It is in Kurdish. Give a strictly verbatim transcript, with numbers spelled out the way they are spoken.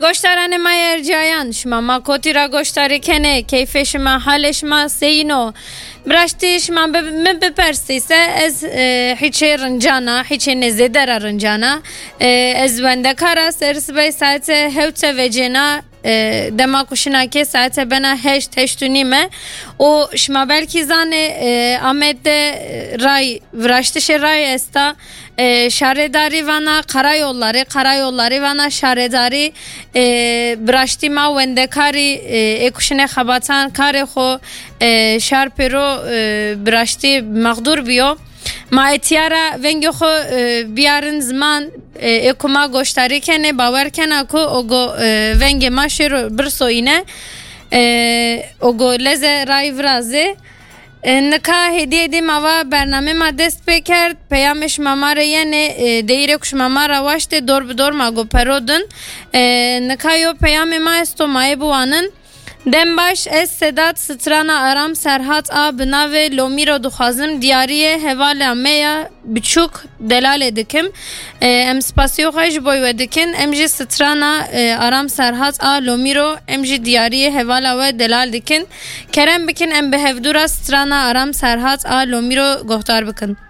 Goştaranê ma yê ercayan, şima ma kotî ra goştarî kenê, keyfê şima, halê şima seyîn o? Bi raştî şima bi-, min bipersîse, ez, e, hîçê rincana, hîçê nêzêde ra rincana. E, ez wendekara, ser sibay saete hewte vecêna, e, dema ku şina kê saete bena heşt, heşt û nîme. Û şima belkî zanê, e, Amed de, e, ray, viraştişê ray esta, e, şaredarî vana karayolları, karayolları vana şaredarî, e, bi raştî ma wendekarî, e, ê ku şinê xebatan karê xo, e, şar pêro, e, bi raştî mexdûr biyo. Ma etiya ra vengê xo, e, biyarin ziman, e, ê ku ma goştarî kenê, bawer kena ku ogo, e, vengê ma şêro birsoyîne, e, ogo leze ray virazê. E, nika hêdî hêdî ma va bernamê ma dest pê kerd, peyamê şima ma re yenê, e, deyîrê ku şima ma ra waştê dor bi dor ma go pero din. E, nika yo peyamê ma esto, ma yê biwanin. Dem baş, ez Sedat strana Aram Serhat a bi navê Lomîro dixwazim diyariyê hevala me ya biçûk delalê dikim. E, em spasiyo xwe ji bo we dikin. Em jî strana, e, Aram Serhat a Lomîro, em jî diyariyê hevala we delal dikin. Kerem bikin em bi hevdû ra strana Aram Serhat a Lomîro guhdar bikin.